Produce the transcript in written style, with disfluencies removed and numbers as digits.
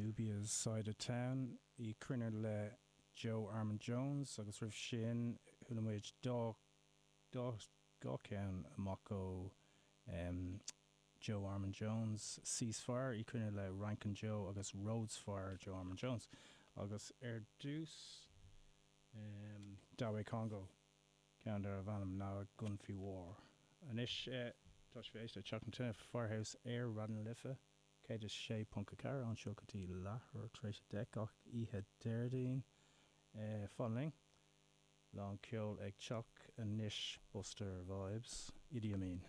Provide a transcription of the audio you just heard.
Dubious Side of Town, í cruinne le Joe Armon-Jones agus roimh sin chuala muid dá dá dhá cheann amach ó Joe Armon-Jones, Ceasefire, í cruinne le Rankin Joe agus Rhodes Fire, Joe Armon-Jones. Agus ar dtús Daweh Congo. Ceann darbh ainm ná Gunfi War. Anois, tá sibh ag éisteacht le Teach na Tine, Firehouse ar Raidió na Life 106.4 anseo go dtí leathuair tar éis 10 gach oíche Déardaoin. Fan linn. Lán ceoil ag teacht anois Buster Vibes, Idi Amin.